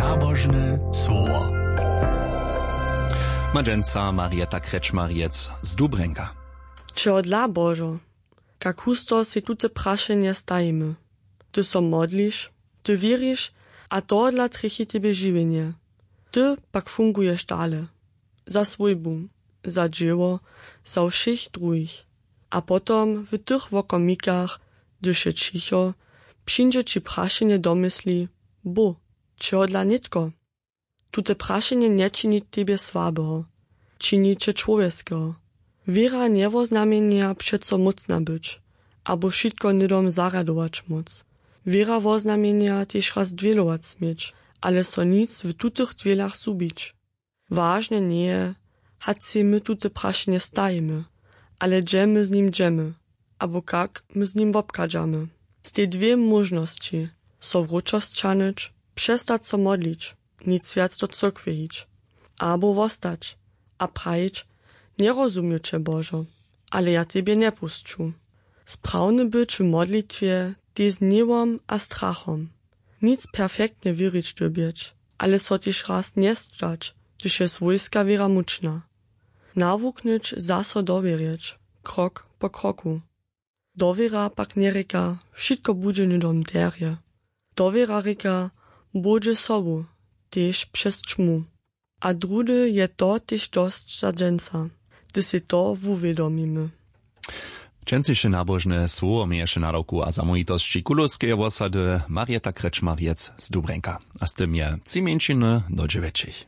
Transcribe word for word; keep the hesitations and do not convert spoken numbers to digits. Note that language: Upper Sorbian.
Nabožne słowo. Ma dźensa Marieta Krečmarjec z Dubrjenka. Čehodla, Božo? Kak husto sej tute prašenje stajimy? Ty so modliš, ty wěriš, a tohodla trjechi tebje žiwjenje. Ty pak funguješ dale. Za swójbu, za dźěło, za wšěch druhich. A potom w tych wokomikach, hdyž je ćicho, přińdźe ći prašenje do mysli: Bóh, čehodla nětko? Tute prašenje nječini tebje słabeho, čini će čłowjeskeho. Wěra njewoznamjenja přeco mócna być, abo wšitko hnydom zarjadować móc. Wěra woznamjenja tež raz dwělować směć, ale so nic w tutych dwělach zhubić. Wažne njeje, hač sej my tute prašenje stajimy, ale hdźe my z nim dźemy, abo kak my z nim wobchadźamy. Stej dwě móžnosći: so wróćo sćahnyć, přestać so modlić, nic wjac do cyrkwje hić, abo wostać a prajić: Njerozumju će, Božo, ale ja tebje njepusću. Sprawny być w modlitwje tež z hněwom a strachom. Nic perfektnje wěrić dyrbjeć, ale so tež raz njesćać, hdyž je swójska wěra mučna. Nawuknyć zaso dowěrjeć, krok po kroku. Dowěra pak njerěka: Wšitko budźe hnydom derje. Dowěra rěka: Bóh dźe sobu, tež přez ćmu. A druhdy je to tež dosć za dźensa, hdy sej to wuwědomimy. Dźensniše nabožne słowo měješe nadawku a zamołwitosći Kulowskeje wosady Marieta Krečmarjec z Dubrjenka. A z tym je tři mjeńšiny do dźewjećich.